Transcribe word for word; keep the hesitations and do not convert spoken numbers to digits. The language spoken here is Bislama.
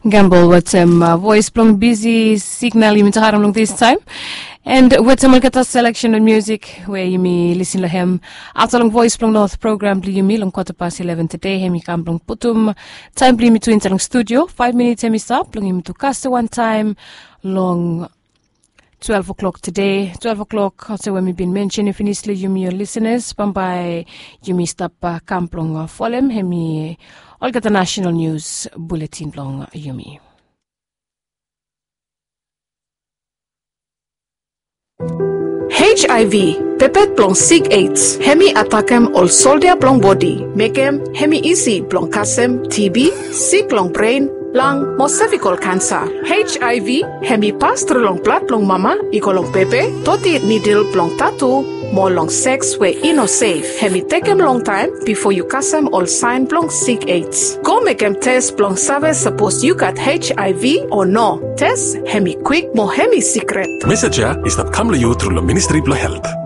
Gambol wetem voes blong bisi signal yumi tok harem long distaem. And wetem olgeta seleksen blong musik we yumi lisin long hem afta long voes blong not program blong yumi long kwata pas eleven tede, hem i kam blong putum taem blong yumi tu insaed long studio. Faef minits hem i stap blong yumi tu kasem wantaem long twelve o'clock tede. Twelve o'clock olsem we mi bin mensenem finis long yumi ol lisenas, bambae yumi stap kam blong folem hem i olgeta nasenal nius buletin blong yumi. Hiv, pepet blong sik aids, hem i atakem ol soldia blong bodi, mekem hem i isi blong kasem TB, sik long bren, lang mo sevikol kansa. Hiv hem i pas tru long blad blong mama i go long bebe, toti nidil blong tatu, mo long seks we i no sef. Hem i tekem longtaem bifo yu kasem ol saen blong sik aids. Go mekem tes blong save sapos yu gat hiv o no. Tes hem i kwik mo hem i sikret. Mesej ya i stap kam long yu tru long Ministri blong Helt.